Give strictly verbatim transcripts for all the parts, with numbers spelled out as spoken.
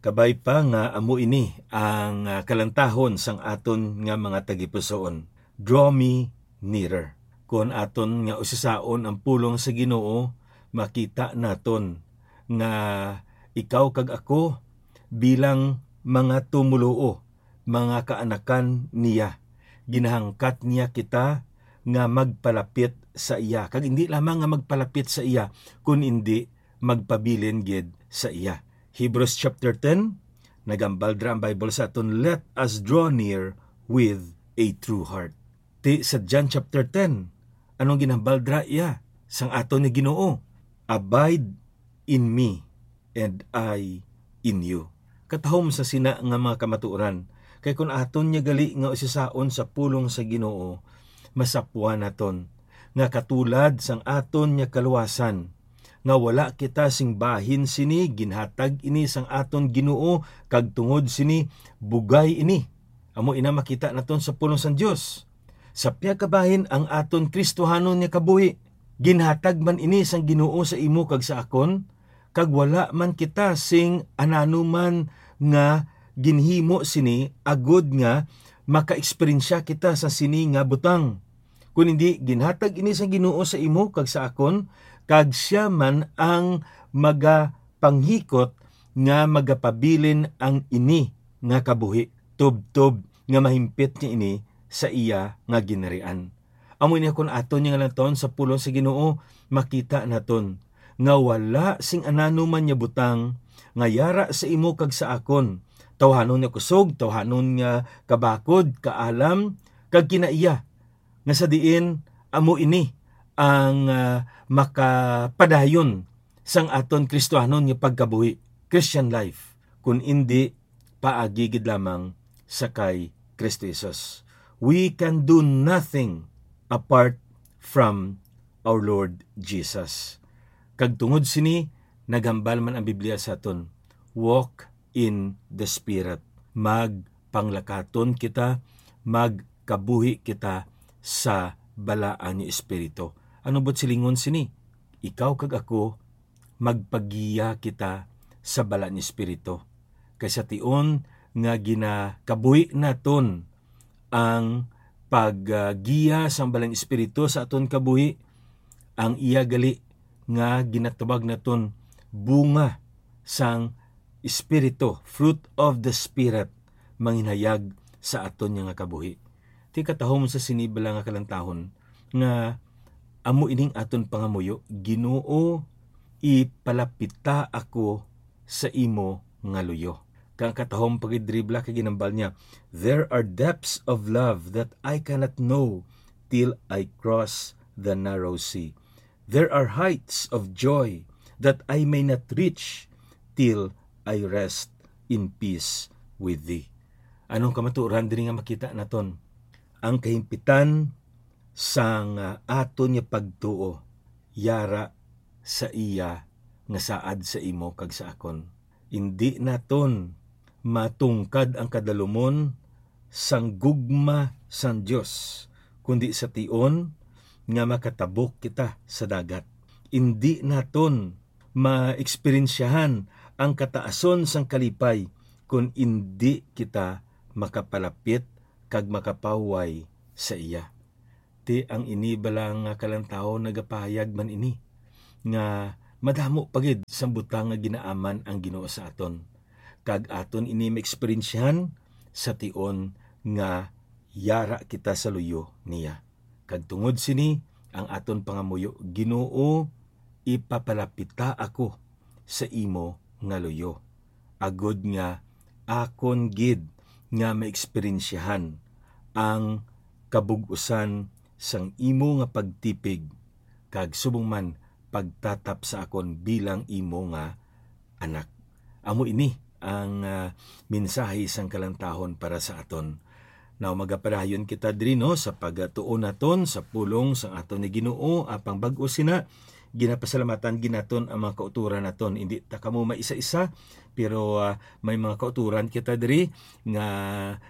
Kabay pa nga amo ini ang, ah, kalantahon sang aton nga mga tagipusoon. Draw me nearer. Kon aton nga usisaon ang pulong sa Ginoo, makita naton nga ikaw kag ako bilang mga tumoluo, mga kaanakan niya, ginahangkat niya kita nga magpalapit sa iya. Kag hindi lamang nga magpalapit sa iya, kun indi magpabilin gid sa iya. Hebrews chapter ten, nagambal dira ang Bible sa aton, "Let us draw near with a true heart." Ti sa John chapter ten, anong ginambal dira iya sang aton nga Ginoo? "Abide in me, and I in you." Katahom sa sina nga mga kamatuoran, kay kun aton niya gali nga usisaon sa pulong sa Ginoo, masapwan naton nga katulad sang aton nga kaluwasan, nga wala kita sing bahin sini, ginhatag ini sang aton Ginoo, kag tungod sini bugay ini. Amo ina makita naton sa pulong sang Dios. Sa pihak kabahin ang aton Kristohanon nga kabuhi, ginhatag man ini sang Ginoo sa imo kag sa akon, kag wala man kita sing anano man nga ginhimo sini agod nga makaeksperyensya kita sa sini nga butang. Kun hindi, ginhatag ini sang Ginoo sa imo kag sa akon, kag sia man ang magapanghikot nga magapabilin ang ini nga kabuhi, tubtob nga mahimpit niya ini sa iya nga ginharian. Amo ini, kon aton niya nga lantawon sa pulong sa Ginoo, makita naton nga wala sing anano man nga butang nga yara sa imo kag sa akon, tawhanon nga kusog, tawhanon nga kabakod, kaalam, kag kinaiya, nga sa diin amo ini ang, ah, makapadayon sang aton Kristohanon nga pagkabuhi, Christian life, kun indi paagi gid lamang sa kay Kristo Jesus. We can do nothing apart from our Lord Jesus. Kag tungod sini, naghambal man ang Biblia sa aton, "Walk in the Spirit." Magpanglakaton kita, magkabuhi kita sa balaan ni Espiritu. Ano buot silingon sini? Ikaw kag ako, magpagiya kita sa bala ni Espiritu. Kay sa tion nga ginakabuhi naton ang paggiya sang Balang Espiritu sa aton kabuhi, ang iya gali nga ginatawag naton bunga sang Espiritu, fruit of the Spirit, manginhayag sa aton nga kabuhi. Ti katahom sa sini bala nga kalantahon nga amo ining aton pangamuyo, "Ginoo, ipalapita ako sa imo nga luyo." Kang katahom pa gid diri bala kay ginambal niya, "There are depths of love that I cannot know till I cross the narrow sea. There are heights of joy that I may not reach till I rest in peace with thee." Anong kamatuoran diri nga makita naton? Ang kahimpitan sang, ah, aton nga pagtuo yara sa iya nga saad sa imo kag sa akon. Indi naton matungkad ang kadalumon sang gugma sang Dios, kundi sa tion nga makatabok kita sa dagat. Indi naton maeksperyensyahan ang kataason sang kalipay kon indi kita makapalapit kag makapahuway sa iya. Ti ang ini bala nga kalantawon nagapahayag man ini nga madamo pa gid sang butang nga ginaaman ang Ginoo sa aton, kag aton ini maeksperyensyahan sa tion nga yara kita sa luyo niya. Kag tungod sini, ang aton pangamuyo, "Ginoo, ipapalapita ako sa imo nga luyo, agod nga akon gid nga maeksperyensyahan ang kabug-usan sang imo nga pagtipig, kag subong man pagtatap sa akon bilang imo nga anak." Amo ini ang, ah, mensahe sang kalantahon para sa aton. Now, magapadayon kita diri, no, sa pagtuon naton sa pulong sang aton nga Ginoo, apang bag-o sina, ginapasalamatan gid naton ang mga kautoran naton. Indi ta kamo maisa-isa, pero, ah, may mga kautoran kita diri nga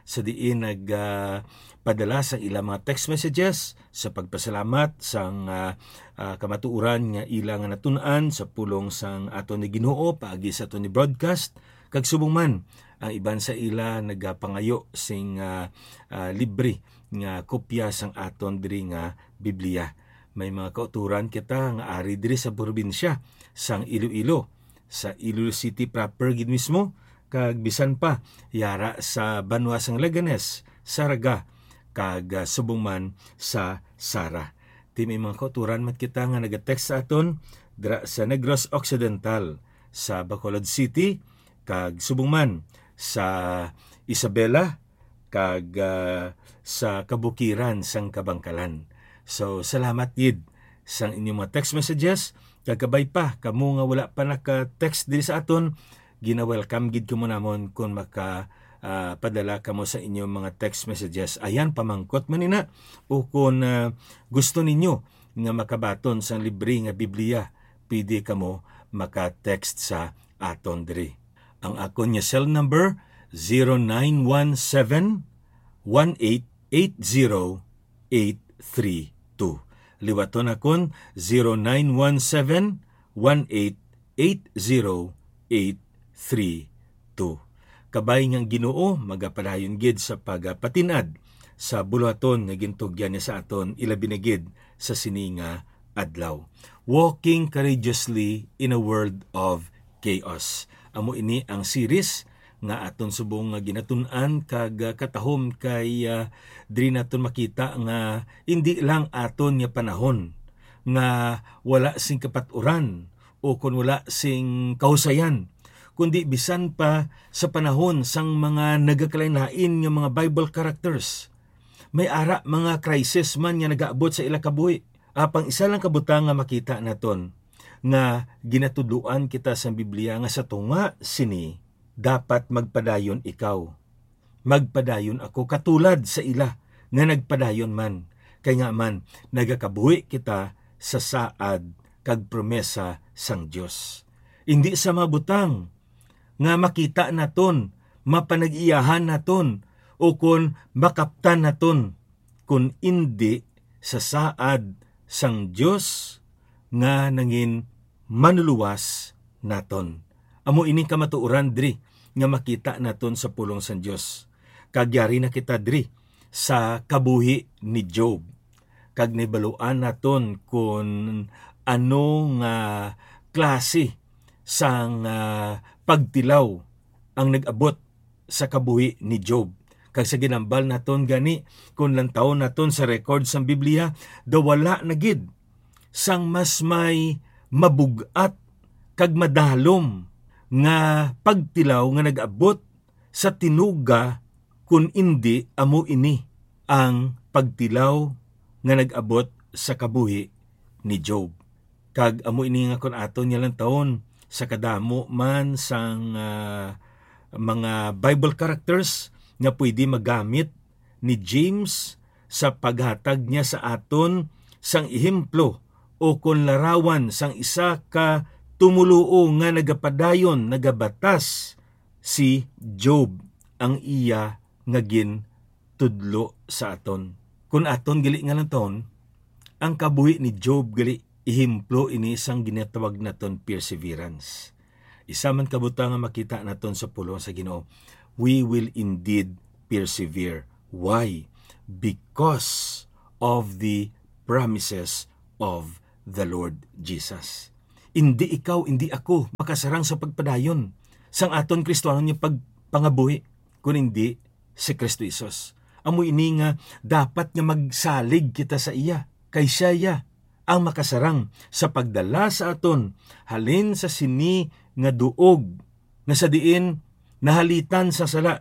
sa diin nag, ah, padala sang ilang mga text messages sa pagpasalamat sang, ah, ah, kamatuoran nga ila nga natun-an sa pulong sang aton ni Ginoo paagi sa aton ni broadcast. Kag subong man, ang iban sa ila nagapangayo sing, ah, ah, libre nga kopya sang aton diri nga Biblia. May mga kautoran kita nga ari diri sa probinsya sang Iloilo, sa Iloilo City proper gid mismo, kag bisan pa yara sa banwa sang Leganes, Zarraga, kag, ah, subong man sa Sara. Ti may mga kautoran man kita nga nagatext sa aton dira sa Negros Occidental, sa Bacolod City, kag subong man sa Isabela, kag, ah, sa kabukiran sang Kabangkalan. So, salamat gid sang inyong mga text messages. Kag kabay pa, kamo nga wala pa naka-text diri sa aton, gina-welcome gid kamo namon kon maka, ah, padala kamo sa inyong mga text messages. Ayan, pamangkot man ina, o kon, ah, gusto ninyo nga makabaton sang libre nga Biblia, pwede kamo maka-text sa aton diri. Ang akon nga cell number, zero nine one seven, one eight eight zero, eight three two. Liwaton akon, zero nine one seven, one eight eight zero, eight three two. Kabay nga ang Ginoo magapadayon gid sa pagapatin-ad sa buluhaton nga gintugyan niya sa aton, ilabi na gid sa sini nga adlaw. Walking Courageously in a World of Chaos. Amo ini ang series nga aton subong nga ginatun-an kag, ah, katahom kay, ah, diri naton makita nga indi lang aton nga panahon nga wala sing kapat-uran o kon wala sing kahusayan, kundi bisan pa sa panahon sang mga nagakalain-lain nga mga Bible characters, may ara mga crisis man nga nagaabot sa ila kabuhi. Apang isa lang ka butang nga makita naton, nga ginatudloan kita sang Biblia nga sa tunga sini, dapat magpadayon ikaw. Magpadayon ako katulad sa ila nga nagpadayon man. Kay nga man, nagakabuhi kita sa saad kag promesa sang Dios. Indi sa mga butang nga makita naton, mapanag-iyahan naton, o kon makaptan naton, kun indi sa saad sang Dios nga nangin manuluwas naton. Amo ini kamatuoran diri nga makita naton sa pulong sang Dios. Kag yari na kita diri sa kabuhi ni Job, kag nahibaluan naton kon ano nga klase sang, ah, pagtilaw ang nag-abot sa kabuhi ni Job. Kag sa ginambal naton gani, kon lantawon naton sa record sang Biblia, daw wala na gid sang mas may mabug-at kag madalom nga pagtilaw nga nag-abot sa tinuga, kun indi amo ini ang pagtilaw nga nag-abot sa kabuhi ni Job. Kag amo ini nga kon aton nga lantawon sa kadamo man sang, ah, mga Bible characters nga pwede magamit ni James sa paghatag niya sa aton sang ehemplo o kon larawan sang isa ka tumoluo nga nagapadayon, nagabatas, si Job ang iya nga gintudlo sa aton. Kon aton gali nga lantawon, ang kabuhi ni Job gali ehemplo ini sang ginatawag naton perseverance. Isa man ka butang nga makita naton sa pulong sa Ginoo, we will indeed persevere. Why? Because of the promises of the Lord Jesus. Indi ikaw, indi ako makasarang sa pagpadayon sang aton Kristohanon nga pagpangabuhi, kun indi si Kristo Jesus. Amo ini nga dapat nga magsalig kita sa iya, kay siya iya ang makasarang sa pagdala sa aton halin sa sini nga duog nga sa diin nahalitan sa sala,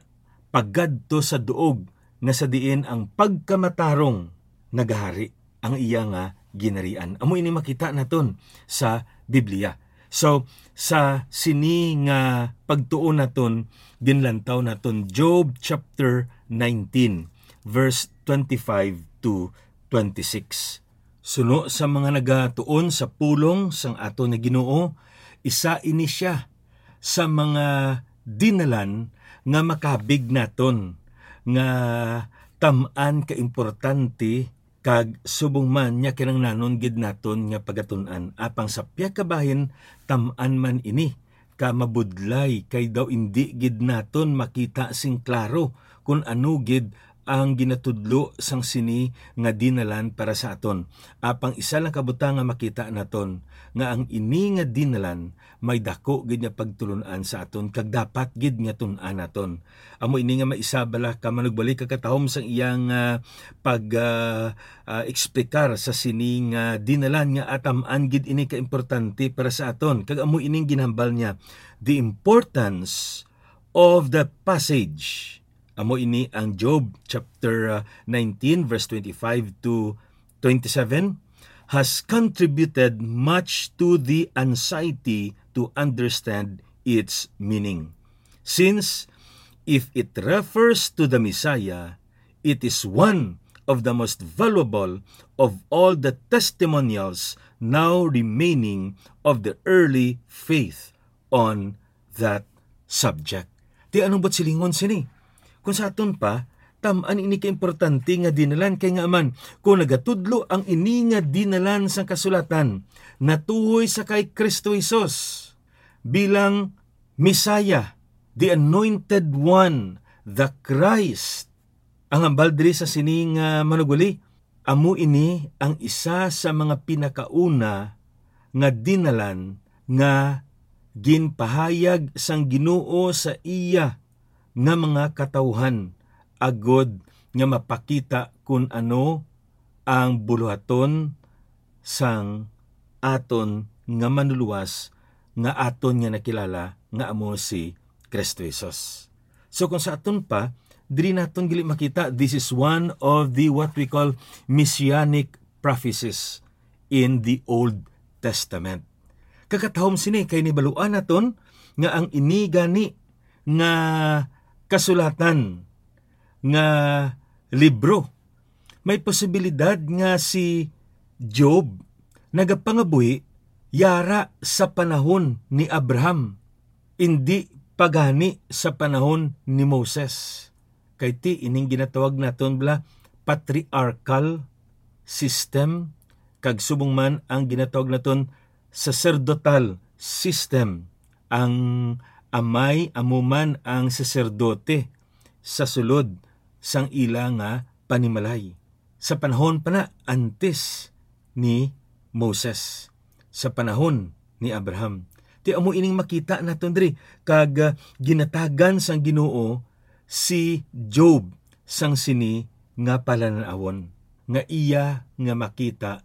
pagadto sa duog nga sa diin ang pagkamatarong nagahari, ang iya nga ginharian. Amo ini makita naton sa Biblia. So, sa sini nga pagtuon naton, ginlantaw naton Job chapter nineteen, verse twenty-five to twenty-six. Suno sa mga nagatuon sa pulong sang aton nga Ginoo, isa ini sia sa mga dinalan nga makabig naton nga tam-an ka importante kag subong man nga kinahanglanon gid naton nga pagatun-an. Apang sa pihak ka bahin, tam-an man ini ka mabudlay, kay daw indi gid naton makita sing klaro kon ano gid ang ginatudlo sang sini nga dinalan para sa aton. Apang isa lang ka butang nga makita naton, nga ang ini nga dinalan may dako gid nga pagtulon-an sa aton, kag dapat gid nga tun-an naton. Amo ini nga may isa bala ka manugbalik ka katahom sang iyang, ah, pag, ah, ah, eksplikar sa sini nga dinalan nga atam-an gid ini ka importante para sa aton. Kag amo ining ginhambal niya, the importance of the passage. Amo ini ang Job chapter, ah, nineteen, verse twenty-five to twenty-seven, has contributed much to the anxiety to understand its meaning. Since, if it refers to the Messiah, it is one of the most valuable of all the testimonials now remaining of the early faith on that subject. Ti anong buot silingon sini? Kung sa aton pa, tam-an ini ka importante nga dinalan, kay nga man, kung nagatudlo ang ini nga dinalan sang kasulatan, natuhoy sa kay Kristo Jesus bilang Messiah, the Anointed One, the Christ, ang hambal diri sa sini nga manuguli, amo ini ang isa sa mga pinakauna nga dinalan nga ginpahayag sang Ginoo sa iya nga mga katawuhan, agod nga mapakita kun ano ang buluhaton sang aton nga Manlulowas nga aton nga nakilala nga amo si Kristo Jesus. So, kung sa aton pa, diri naton gali makita, this is one of the what we call messianic prophecies in the Old Testament. Kakatahom sini kay nahibaluan naton nga ang ini gani nga kasulatan nga libro, may posibilidad nga si Job nagapangabuhi yara sa panahon ni Abraham, indi pa gani sa panahon ni Moses. Kay ti ining ginatawag naton bala patriarchal system, kag subong man ang ginatawag naton saserdotal system. Ang amay amo man ang saserdote sa sulod sang ila nga panimalay, sa panahon pa na antes ni Moses, sa panahon ni Abraham. Ti amo ining makita naton diri, kag, ah, ginatagan sang Ginoo si Job sang sini nga palanan-awon, nga iya nga makita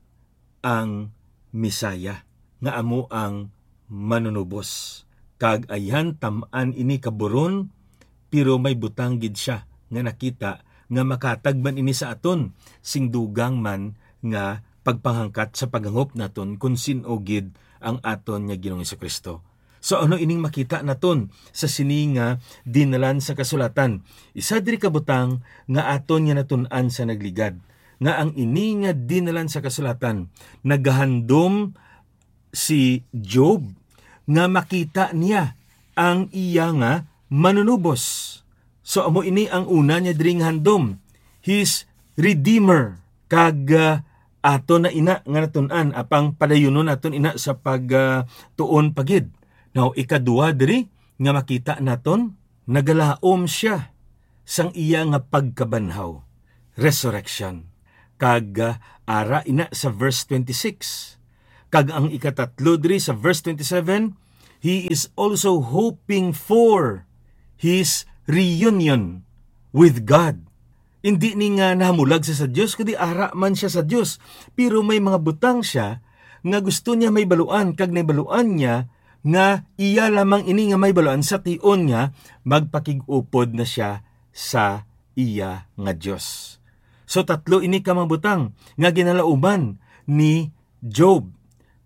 ang Messiah, nga amo ang Manunubos. Kag ayhan, tam-an ini kaburon, pero may butang gid sia nga nakita nga makatagban ini sa aton sing dugang man nga pagpanghangkat sa paghangop naton kon sin-o gid ang aton nga Ginoong Jesu-Cristo. So, ano ining makita naton sa sini nga dinalan sa kasulatan? Isa diri ka butang nga aton nga natun-an sa nagligad, nga ang ini nga dinalan sa kasulatan nagahandom si Job nga makita niya ang iya nga Manunubos. So, amo ini ang una niya diri nga handom, his Redeemer. Kag, ah, ato na ina nga natun-an, apang padayunon naton ina sa pag, ah, tuon pa gid. Now, ikadua diri nga makita naton, nagalaom sia sang iya nga pagkabanhaw, resurrection. Kag, ah, ara ina sa verse twenty-six. Kag ang ikatatlo diri sa verse twenty-seven, he is also hoping for his reunion with God. Indi ni nga nahamulag siya sa Dios, kundi ara man siya sa Dios. Pero may mga butang siya nga gusto niya mahibaluan, kag nahibaluan niya nga iya lamang ini nga mahibaluan sa tion nga magpakig-upod na siya sa iya nga Dios. So, tatlo ini ka mga butang nga ginalauman ni Job.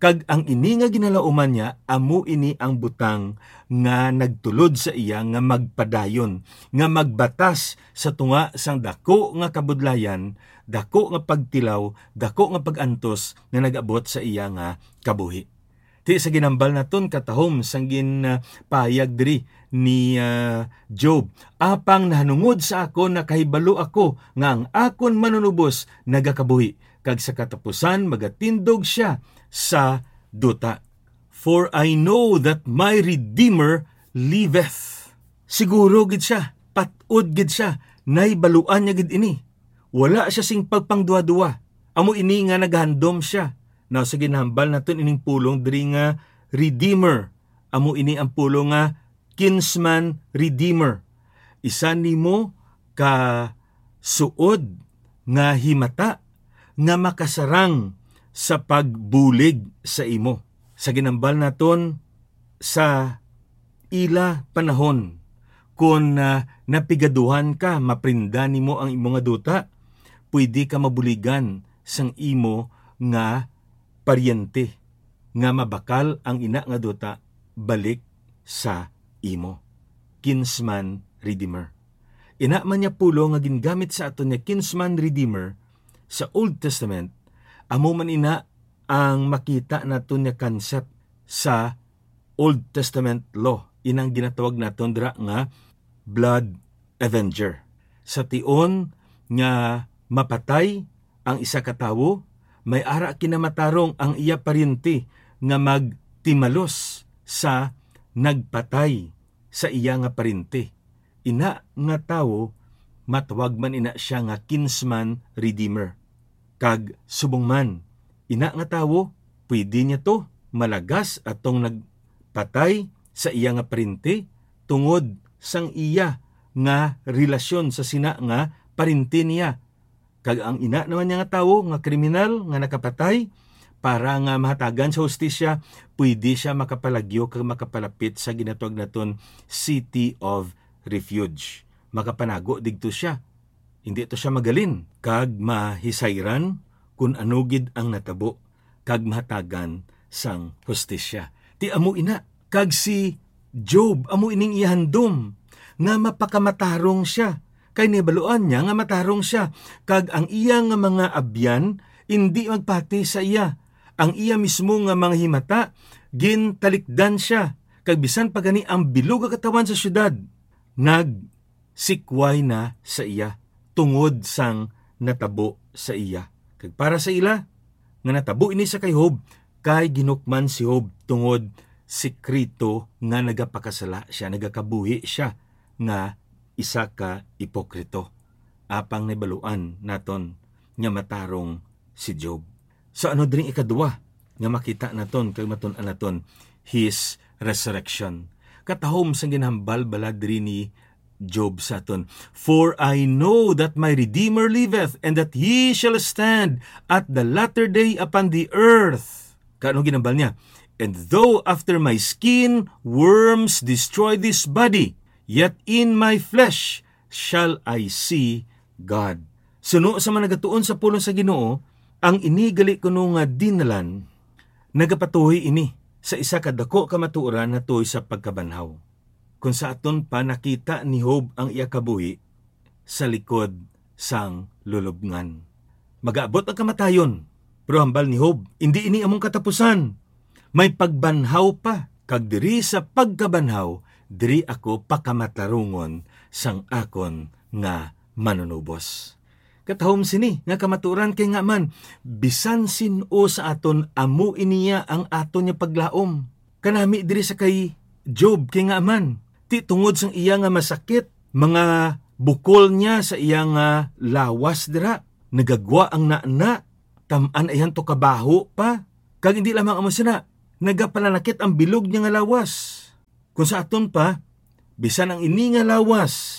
Kag ang ini nga ginalauman niya, amo ini ang butang nga nagtulod sa iya nga magpadayon, nga magbatas sa tunga sang dako nga kabudlayan, dako nga pagtilaw, dako nga pag-antos nga nag-abot sa iya nga kabuhi. Ti sa ginambal naton katahom sang gin, ah, pahayag diri ni, ah, Job, "Apang nahanungod sa akon nakahibalo ako nga ang akon Manunubos nagakabuhi, kag sa katapusan magatindog sia sa duta." For I know that my Redeemer liveth. Siguro gid sia, pat-od gid sia, nahibaluan niya gid ini. Wala sia sing pagpangduha-duha. Amo ini nga nagahandom sia. Now, sa ginahambal naton ining pulong diri nga Redeemer, amo ini ang pulong nga kinsman redeemer. Isa nimo ka suod nga himata nga makasarang sa pagbulig sa imo. Sa ginambal naton sa ila panahon, kon, ah, napigaduhan ka, maprinda nimo ang imo nga duta, pwede ka mabuligan sang imo nga paryente nga mabakal ang ina nga duta balik sa imo. Kinsman redeemer. Ina man niya pulong nga gingamit sa aton nga kinsman redeemer sa Old Testament, amo man ina ang makita naton nga concept sa Old Testament law, inang ginatawag naton dira nga blood avenger. Sa tion nga mapatay ang isa ka tawo, may ara kinamatarong ang iya paryente nga magtimalos sa nagpatay sa iya nga paryente. Ina nga tawo, matawag man ina sia nga kinsman redeemer. Kag subong man, ina nga tawo, pwede niya to malagas atong nagpatay sa iya nga paryente tungod sang iya nga relasyon sa sina nga paryente niya. Kag ang ina naman niya nga tawo nga kriminal nga nakapatay, para nga mahatagan sa hustisya, pwede sia makapalagyo kag makapalapit sa ginatawag naton City of Refuge. Makapanago digto sia. Hindi to sia magalin kag mahisayran kun ano gid ang natabo kag mahatagan sang hustisya. Ti amo ina, kag si Job amo ining iya handom nga mapakamatarong sia, kay nahibaluan niya nga matarong sia, kag ang iya nga mga abyan indi magpati sa iya. Ang iya mismo nga mga himata gintalikdan sia, kag bisan pa gani ang bilog nga katawan sa siyudad nagsikway na sa iya tungod sang natabo sa iya. Kag para sa ila, nga natabo ini sa kay Job, kay ginhukman si Job tungod sikreto nga nagapakasala sia, nagakabuhi sia nga isa ka ipokrito. Apang nahibaluan naton nga matarong si Job. So, ano diri ikaduha nga makita naton kag matun-an naton? His resurrection. Katahom sang ginhambal bala diri ni Job sa aton, "For I know that my Redeemer liveth, and that he shall stand at the latter day upon the earth." Kano ginambal niya? "And though after my skin worms destroy this body, yet in my flesh shall I see God." Suno sa mga nagatuon sa pulong sa Ginoo, ang ini gali kuno nga dinalan nagapatuhoy ini sa isa ka dako ka matuoran nga tuhoy sa pagkabanhaw. Kung sa aton pa, nakita ni Job ang iya kabuhi sa likod sang lulubngan. Magaabot ang kamatayon, pero hambal ni Job, "Indi ini among katapusan. May pagbanhaw pa, kag diri sa pagkabanhaw, diri ako pakamatarungon sang akon nga Manunubos." Katahom sini nga kamatuoran, kay nga man, bisan sin-o sa aton, amo iniya ang aton nga paglaom. Kanami diri sa kay Job, kay nga man, ti tungod sang iya nga masakit, mga bukol niya sa iya nga lawas dira, nagagwa ang nana, tam-an ayhan to kabaho pa, kag hindi lamang amo sina, nagapalanakit ang bilog niya nga lawas. Kung sa aton pa, bisan ang ini nga lawas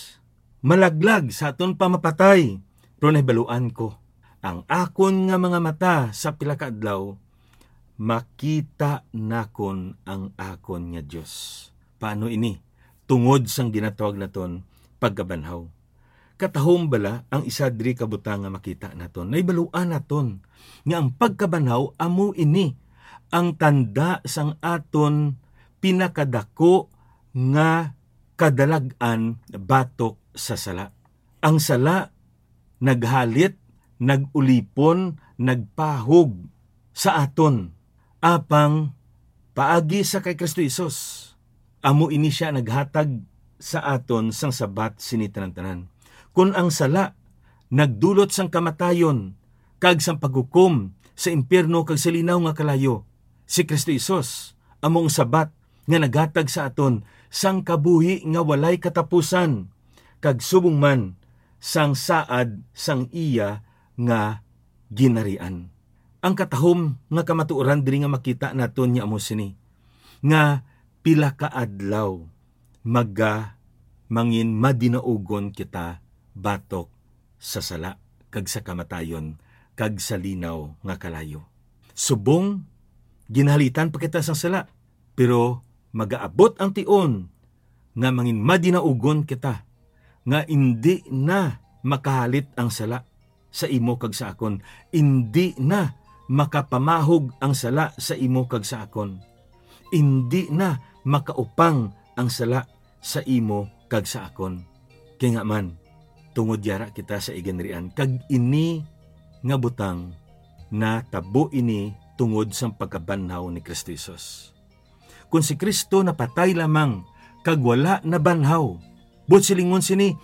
malaglag sa aton pa mapatay, pero nahibaluan ko, ang akon nga mga mata sa pila ka adlaw makita nakon ang akon nga Dios. Paano ini? Tungod sang ginatawag naton pagkabanhaw. Katahom bala ang isa diri ka butang nga makita naton? Nahibaluan naton nga ang pagkabanhaw amo ini ang tanda sang aton pinakadako nga kadalag-an batok sa sala. Ang sala naghalit, nag-ulipon, nagpahog sa aton. Apang paagi sa kay Kristo Jesus, amo ini sia naghatag sa aton sang sabat sini tanan-tanan. Kon ang sala nagdulot sang kamatayon kag sang paghukom sa impiyerno kag sa linaw nga kalayo, si Kristo Jesus amo ang Sabat nga naghatag sa aton sang kabuhi nga walay katapusan, kag subong man sang saad sang iya nga ginharian. Ang katahom nga kamatuoran diri nga makita naton nga amo sini, nga pila ka adlaw maga mangin madinaugon kita batok sa sala kag sa kamatayon kag sa linaw nga kalayo. Subong ginhalitan pa kita sang sala, pero magaabot ang tion nga mangin madinaugon kita, nga indi na makahalit ang sala sa imo kag sa akon, indi na makapamahog ang sala sa imo kag sa akon, indi na makaupang ang sala sa imo kag sa akon. Kay nga man, tungod yara kita sa iginrian, kag ini nga butang natabo ini tungod sang pagkabanhaw ni Kristo Jesus. Kon si Kristo napatay lamang kag wala nabanhaw, buot silingon sini,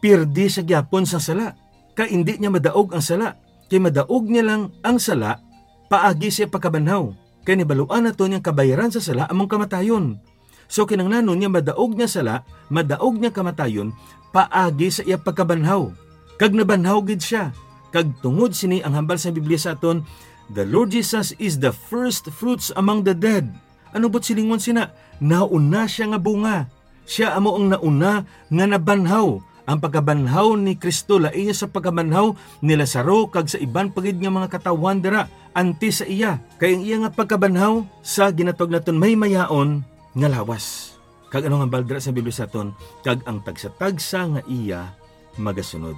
pirdi sa gyapon sang sala, kay indi niya madaog ang sala, kay madaog niya lang ang sala paagi sa pagkabanhaw, kay nabaluan naton nga kabayaran sa sala among kamatayon. So, kinahanglanon nga madaog niya sala, madaog niya kamatayon, paagi sa iya pagkabanhaw. Kag nabanhaw gid siya. Kag tungod sini ang hambal sa Biblia sa aton, "The Lord Jesus is the first fruits among the dead." Ano buot silingon sina? Nauna siya nga bunga. Siya amo ang nauna nga nabanhaw. Ang pagkabanhaw ni Kristo lain sa pagkabanhaw ni Lazaro kag sa iban pa gid nga mga katawhan dira antes sa iya. Kay ang iya nga pagkabanhaw sa ginatawag naton may mayaon nga lawas. Kag ano nga hambal dira sa Biblia sa aton? Kag ang tagsa-tagsa nga iya magasunod.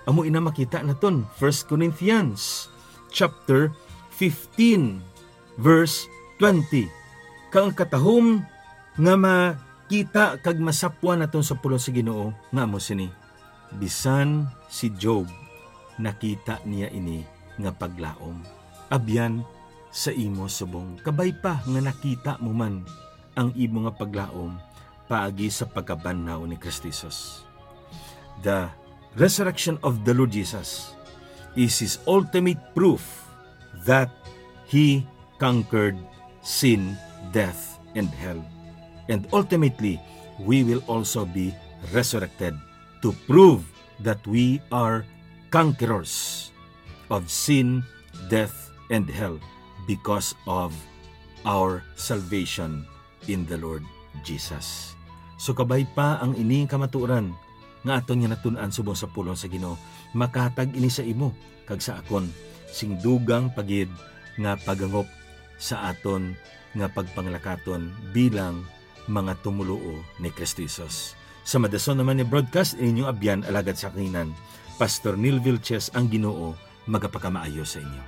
Amo ina makita naton, First Corinthians chapter fifteen, verse twenty. Kag ang katahom nga makita kag masapwan naton sa pulong sa Ginoo nga amo sini, bisan si Job nakita niya ini nga paglaom. Abyan sa imo subong, kabay pa nga nakita mo man ang imo nga paglaom paagi sa pagkabanhaw ni Kristo Jesus. The resurrection of the Lord Jesus is his ultimate proof that he conquered sin, death, and hell. And ultimately, we will also be resurrected to prove that we are conquerors of sin, death, and hell because of our salvation in the Lord Jesus. So, kabay pa ang ini nga kamatuoran nga aton nga natun-an subong sa pulong sa Ginoo, makahatag ini sa imo kag sa akon sing dugang pa gid nga paghangop sa aton nga pagpanglakaton bilang mga tumoluo ni Cristo Jesus. Sa madason naman ni broadcast, inyong abyan, alagad sa kahinan, Pastor Neil Vilches, ang Ginoo magapakamaayo sa inyo.